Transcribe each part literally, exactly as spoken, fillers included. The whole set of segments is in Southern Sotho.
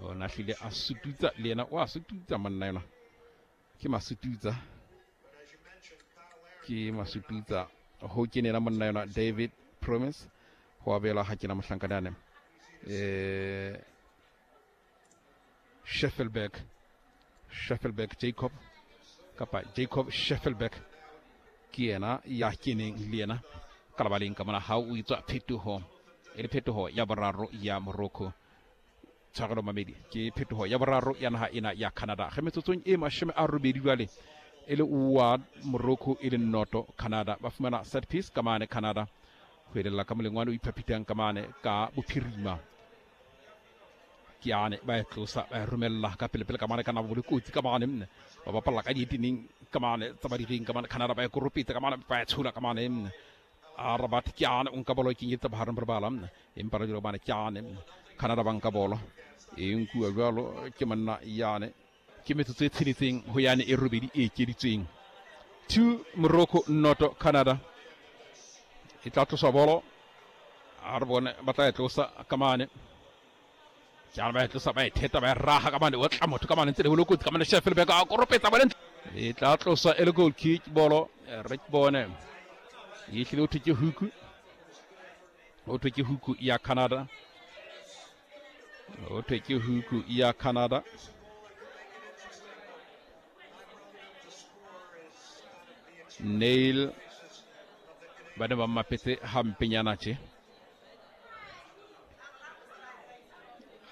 O na hlile a sututsa le yena, o a sututsa monna yona, ke masututsa, ke masututsa ho kenela monna yona David Promise ho abelwa ha kena mohlankana eh Sheffelberg, Sheffelberg Jacob kapa Jacob Sheffelberg ke yena ya keneng le yena ka lebaleng ka mona. Ha o etswa phetoho e le phetoho ya boraro ya Morocco, tshwarelo mamedi, ke phetoho ya boraro ya naha ena ya Canada. Ge metsotsong e mashome a robedi jwale e le wa Morocco e le noto Canada, ba fumana set piece ka mane Canada ho elella ka molengwane o iphaphitang ka mane ka bophirima. Ke ane ba e tlosa ba e romella ka pele-pele ka mane ka nabo le kotsi ka mane, mme ba bapalla ka dieteneng ka mane tsa badireng ka mane Canada, ba e koropetsa ka mane ba e tshola ka mane mme a Rabat ke ane o nka bolo e kenyetsa bohareng bo lebala mme empa re dilo mane ke ane Canada ba nka bolo e nkuwa jwalo ke monna yane. Ke metsotso e tsheletseng ho yane e robedi e ekeditsweng. Two Morocco noto Canada. E tla tloswa bolo, a re bone ba tla e tlosa ka mane. Ke a ba e tlosa ba e theta ba e raha ka mane, o tla motho ka mane ntse le ho lokotsi ka mane Sheffelberg a koropetsa bole. E tla tloswa e le goal kick bolo, re ke bone e hlile ho thwe ke huku, ho thwe ke huku ya Canada, ho thwe ke huku ya Canada. Nail ba ne ba mmapetse hampenyana tje.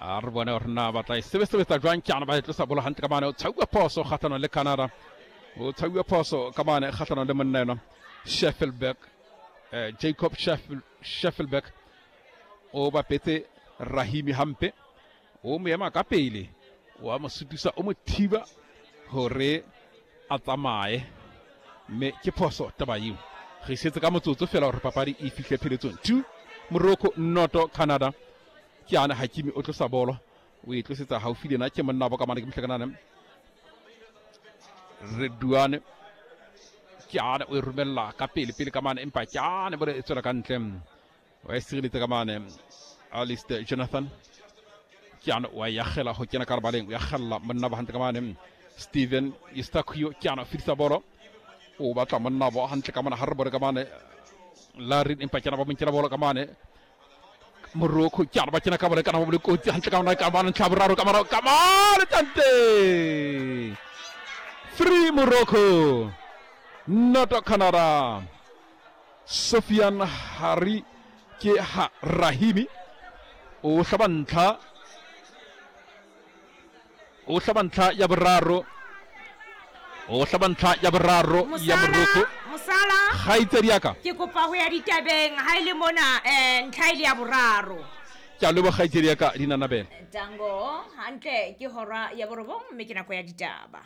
A re bone hore na ba tla e sebesebetsa jwang. Ke ana ba e tlosa bolo hantle ka mane, o tshauwa phoso kgahlanong le Canada, o tshauwa phoso ka mane kgahlanong le monna enwa Sheffelberg, eh, Jacob Sheffel, Sheffelberg o bapetse Rahimi hampe, o mo ema ka pele, wa mo sutisa, o mo thiba hore a tsamaye, mme ke phoso taba eo. Re setse ka motsotso fela hore papadi e fihle pheletsong. Two Morocco noto Canada. Ke ana Hakimi o tlosa bolo, o e tlosetsa haufi le yena ke monna bo ka mane ke mohlakanane Redouane. Ke ana o e romella ka pele pele ka mane, empa ke ana bole e tswela ka ntle, wa e sireletsa ka mane Alistair Jonathan. Ke ana wa yakgela ho kena ka lebaleng, o yakgella monna ba hantle ka mane Steven Eustachio. Ke ana o fetisa bolo, o batla monna bo hantle ka mane ha re bone ka mane Larin, empa ke ana ba mo nkela bolo ka mane Morocco. Ke ana ba kena ka bolo kana ba bole kotsi hantle ka mane ka mane ntlha boraro ka mane ka mane tante. Three Morocco noto Canada. Sofian Hari ke ha Rahimi o hlaba ntlha, o hlaba ntlha ya boraro, o hlaba ntlha ya boraro ya Morocco. Mosala, kgaitsedi ya ka, ke kopa ho ya ditabeng ha ile mona eh ntlha ile ya boraro. Ke a leboha kgaitsedi ya ka Dinanabele. Tango hantle ke hora ya borobong mme ke nako ya ditaba.